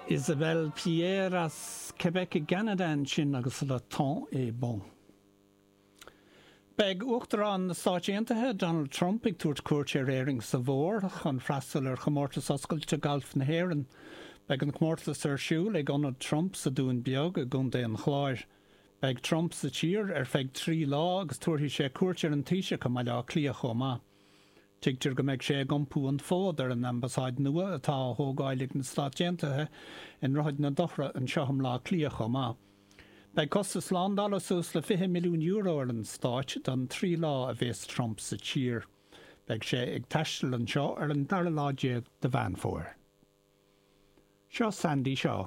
Isabelle Pierre as Québec i gCeanada ansin agus Le Temps est bon. Beidh Uachtarán na Stáit Aontaithe, Donald Trump, ag tabhairt cuairt ar Éirinn sa bhfómhar chun freastal ar Chomórtas Oscailte Gailf na hÉireann. Beidh an comórtas ar siúl ag Ionad Trump sa Dún Beag i gContae an Chláir. Beidh Trump sa tír ar feadh 3 lá agus tabharfaidh sé cuairt ar an Taoiseach i mBaile Átha Cliath chomh maith. Tuigtear go mbeidh sé ag iompú an fód ar an ambasáid nua atá á thógáil ag na Stáit Aontaithe i nDroichead na Dothra anseo i mBleá Cliath chomh maith. Beidh costas slándála suas le €20 milliún ar an Stáit don 3 lá a bhéas Trump sa tír. Beidh sé ag taisteal anseo ar an dara lá déag de Mheán Fómhair. Seo Sandie Shaw.